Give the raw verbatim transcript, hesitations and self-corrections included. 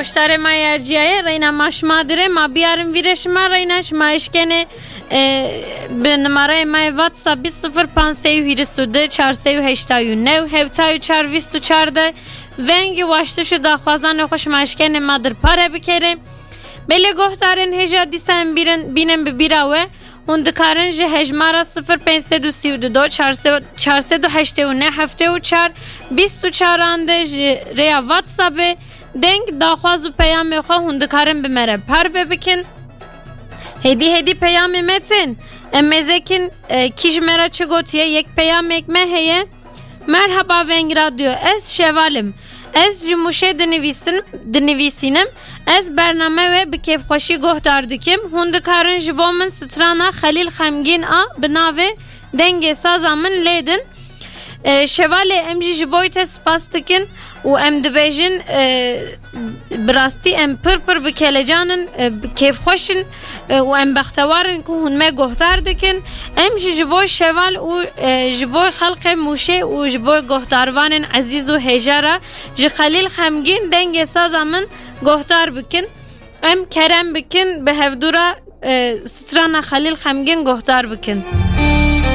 Goştarê ma yê erciyayê, reyna ma şima dire, ma biyarin vîrê şima, reyna şima eşkenê, e, bi numarayê ma yê WhatsApp bîst sifir pênc sey û hîris û du çar sey û heştay û neh, hewtay û çar vîst û çar de vengî waştiş û daxwazanê xwe şima eşkenê ma dir pare bikerê. Belê gohdarên hêja dîsa em bîrin, bînin bi bîra we. Hûn dikarin ji hejmara sifir pênc sed û sî û du, çar sed, çar sed û heştê û neh, heftê û çar, bîst û çar an de ji rêya WhatsAppê deng, daxwaz û peyamê xwe hûn dikarin bi me re parve bikin. Hêdî hêdî peyamê me tên. Em mêzekin, e, kî ji me re çi gotiye, yek peyamek me heye. Merhaba Veng Radyo, ez Şeval im. Ez ji Mûşê dinivîsin, dinivîsînim. Ez bername we bi kêfxweşî gohdar dikim. Hûn dikarin ji bo min strana Xelîl Xemgîn a bi navê Dengê Saza Min lêdin. E, Şevalê, em jî ji bo te spas dikin û em dibêjin, e, bi rastî em pir pir bi kelecan in, e, bi kêfxweş in, e, û em bextewar in ku hûn me gohdar dikin. Em jî ji bo Şeval û, e, ji bo xelkê Mûşê û ji bo gohdarvanên ezîz û hêja re ji Xelîl Xemgîn Dengê Saza Min gohdar bikin. Em kerem bikin bi hevdû re, e, strana Xelîl Xemgîn gohdar bikin.